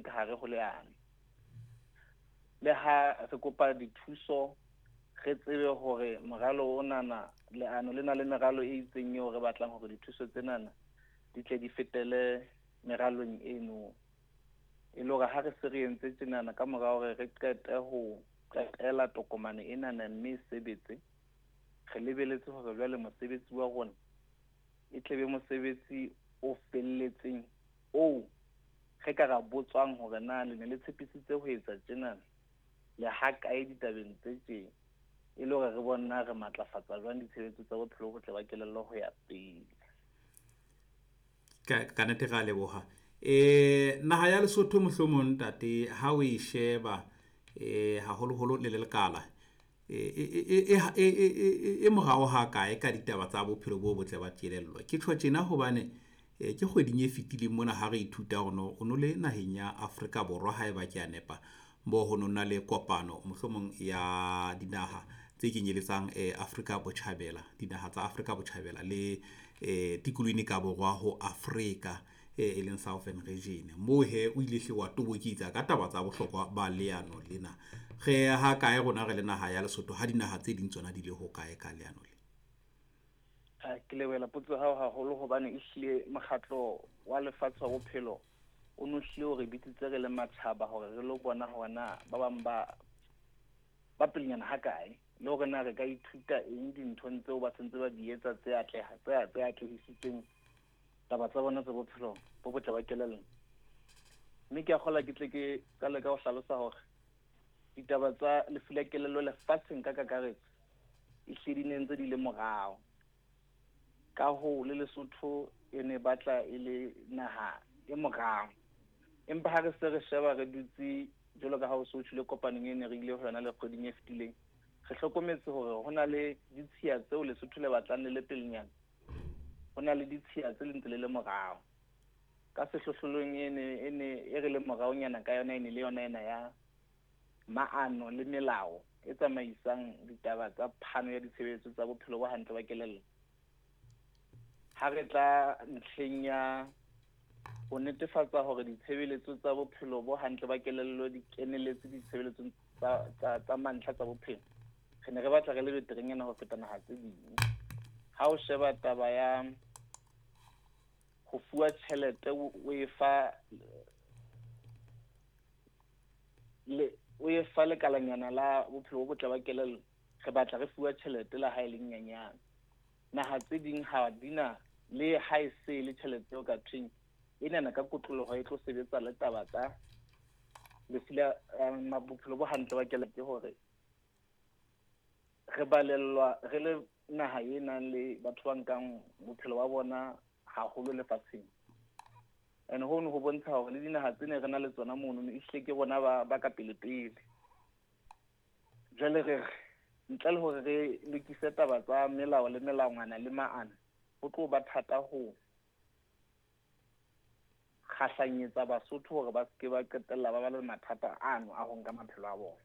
ka hare ho leano. Le ha re kopa dithuso, re tsebe hore moralo onana, leano le na le meralo e itseng eo re batlang hore dithuso tsenana di tle di fetele meralong eno. E le hore ha re se re entse tjenana ka mora hore re qete ho qetela tokomane enana mme e sebetse, re lebeletse hore jwale mosebetsi wa rona e tle be mosebetsi o felletseng oo re ka ra botswang hore na le ne le tshepisitse ho etsa tjenana le ha kae ditabeng tse tjena, e le hore re bone na re matlafatsa jwang ditshebeletso tsa bophelo bo botle ba kelello ho ya pele. Ka nnete re a leboha. Naha ya Lesotho mohlomong ntate ha o e sheba haholoholo le lekala e morao ha kae ka ditaba tsa bophelo bo botle ba kelello? Ke tjho tjena hobane ke kgweding e fetileng mona ha re ithuta hore no o no le naheng ya Afrika Borwa haeba ke a nepa, mo ho no na le kopano mohlomong ya dinaha tse kenyeletsang Afrika Botjhabela, dinaha tsa Afrika Botjhabela le tikolohong e ka borwa ho Afrika e leng Southern Region. Moo he o ile hle wa toboketsa ka taba tsa bohlokwa ba leano lena. Re ha kae rona re le naha ya Lesotho ha dinaha tse ding tsona di le ho kae ka leano le? Ke lebohela potso ya hao haholo hobane ehlile mokgatlo wa lefatshe wa bophelo o no hlile o re bitsitse re le matjhaba hore re lo bona hore na ba bang ba pelenyana ha kae, le hore na re ka ithuta eng dinthong tseo ba sentse ba di etsa tse atleha, tse atlehisitseng taba tsa bona tsa bophelo bo botle ba kelello. Mme ke a kgolwa ke tle ke qale ka ho hlalosa hore ditaba tsa lefu la kelello lefatsheng ka kakaretso ehlile di ne ntse di le morao. Ka hoo le Lesotho e ne batla e le naha e morao. Empa ha re se re sheba re dutse jwalo ka ha o so tjhole kopanong e ne re ile ho yona le kgweding e fetileng, re hlokometse hore ho na le ditshiya tseo Lesotho le batlang le le pelenyana, ho na le ditshiya tse le ntse le le morao. Ka sehlohlolong e ne e re le moraonyana ka yona e ne le yona ena ya maano le melao e tsamaisang ditaba tsa phano ya ditshebeletso tsa bophelo bo hantle ba kelello. Ha re tla ntlheng ya ho netefatsa hore ditshebeletso tsa bophelo bo hantle ba kelello di keneletse ditshebeletsong tsa mantlha tsa bophelo, re ne re batla re le beterenyana ho feta naha tse ding. Ha o sheba taba ya ho fuwa tjhelete o e fa le o e fa lekalanyana la bophelo bo botle ba kelello, re batla re fuwa tjhelete la ha e le nyenyane. Naha tse ding ha di na le ha e se le tjhelete eo ka thweng enana ka kotloloho e tlo sebetsa le taba tsa lefu la bophelo bo hantle ba kelello. Ke hore re balellwa re le naha e nang le batho ba nkang bophelo ba bona haholo lefatsheng. And hono ho bontsha hore le dinaha tse ne re na le tsona mono ehlile ke bona ba ka pele pele. Jwale re re ntle le hore re lokise taba tsa melao le melawana le maano, ho tlo ba thata ho kgahlanyetsa Basotho hore ba seke ba qetella ba ba le mathata ano a ho nka maphelo a bona.